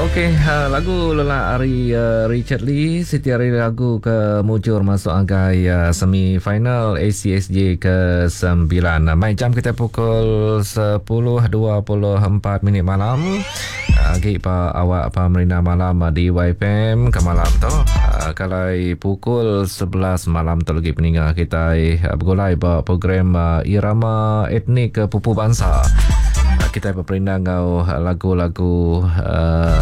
Okey, uh, lagu lelak ari uh, Richard Lee siti ari lagu ke mujur masuk agai uh, semi final ACSJ ke 9. Mai jam kita pukul 10.24 minit malam. Agi pa awak pa merina malam di YFM ke malam tu. Kalai pukul 11 malam tu lagi peninga kita begulai ba program Irama Etnik ke Pupu Bansa. Kita beperindang enggau lagu-lagu uh,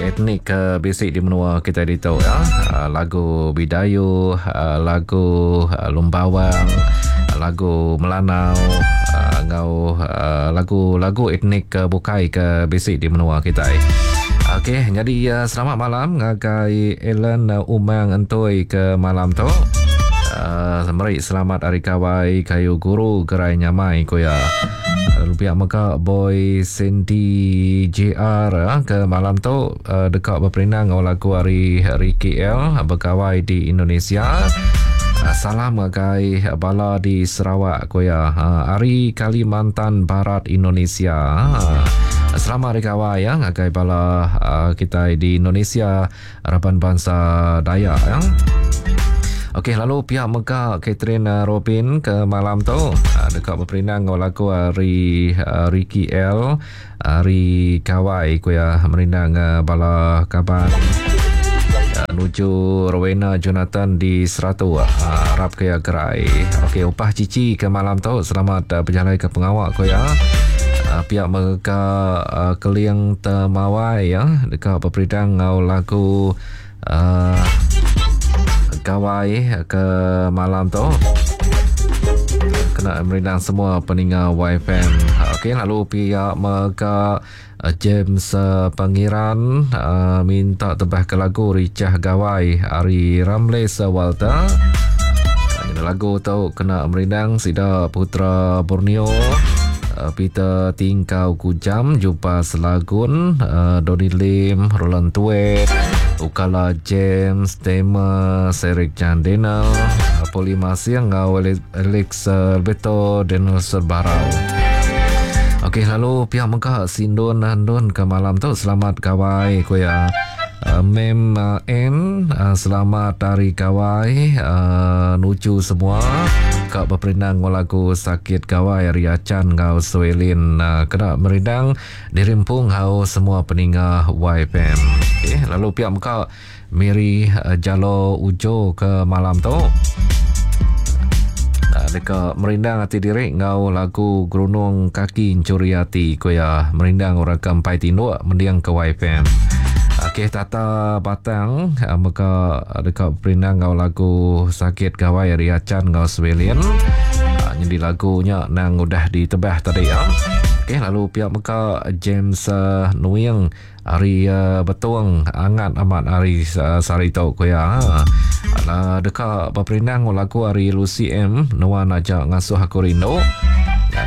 etnik ke bisi di menua kita ditu ya. Lagu Bidayu, lagu Lumbawang, lagu Melanau enggau lagu-lagu etnik ke bukai ke bisi di menua kita. Okey, jadi selamat malam ngagai Ellen Umang Entoi ke malam tu. Uh, meri selamat hari kawai kayu guru gerai nyamai ku ya. Lalu pihak mega Boy Sandy JR eh, ke malam tu uh, deka berperindang ngau lagu hari Ricky L bergawai di Indonesia. Uh, salam ngagai bala di Sarawak ku ya. Uh, hari Kalimantan Barat Indonesia. Uh, selamat hari gawai ya ngagai bala uh, kita di Indonesia raban bansa Dayak ya. Okey lalu pihak mega Catherine eh, Robin ke malam tu eh, dekat berperindang ngau lagu hari eh, Ricky L hari Kawai ku ya merindang bala kaban nuju Rowena Jonathan di Seratu harap ke ya gerai. Okey upah cici ke malam tu selamat berjalai ke pengawak ku ya. Pihak mega Keling Temawai ya deka beperidang ngau lagu uh, Gawai ke malam tu kena merindang semua peninga YFM. Okey lalu pihak mega James Pangeran uh, minta tebah ke lagu Richah Gawai ari Ramles Walter. Lagu tu kena merindang sida Putra Borneo uh, Peter Tingkau Kujam Jumpa Selagun uh, Donny Lim Roland Tuet Ukala James Tema Serik Chan Daniel uh, Poli Masing enggau Alex Alberto Daniel Sebarau. Okey lalu pihak mega Sindun Andun ke malam tu selamat gawai ku ya. Uh, Mem uh, N uh, selamat hari gawai uh, nuju semua ka beperindang ngau lagu sakit gawai ari Achan enggau Suelin uh, kena merindang dirimpung hau semua peninga YFM. Okey lalu pihak mega Mary uh, Jalo Ujo ke malam tu uh, deka merindang ati diri enggau lagu Gerunung Kaki Encuri Ati ku iya merindang orang ke empai tinduk mending ke YFM. Okey Tata Batang uh, mega deka berindang enggau lagu Sakit Gawai ari Achan enggau Swelin. Uh, nyadi lagu nya nang udah ditebah tadi ya. Okey lalu pia mega James uh, Nuing Hari Betong angat amat hari sehari tu ku iya. Ala deka beperindang enggau lagu ari Lucy M nuan aja ngasuh aku rindu.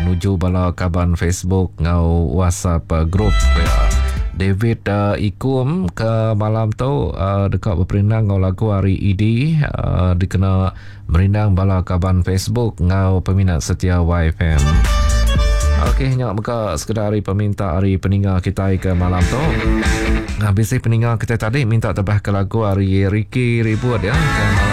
Nuju bala kaban Facebook enggau WhatsApp group ku iya. David Ikum ke malam tu deka beperindang enggau lagu ari ED dikena Merindang bala kaban Facebook enggau peminat setia YFM. Okey nya mega sekeda ari peminta ari peninga kitai ke malam tu. Nah, bisi peninga kitai tadi minta tebah ke lagu ari Ricky Ribut ya ke malam.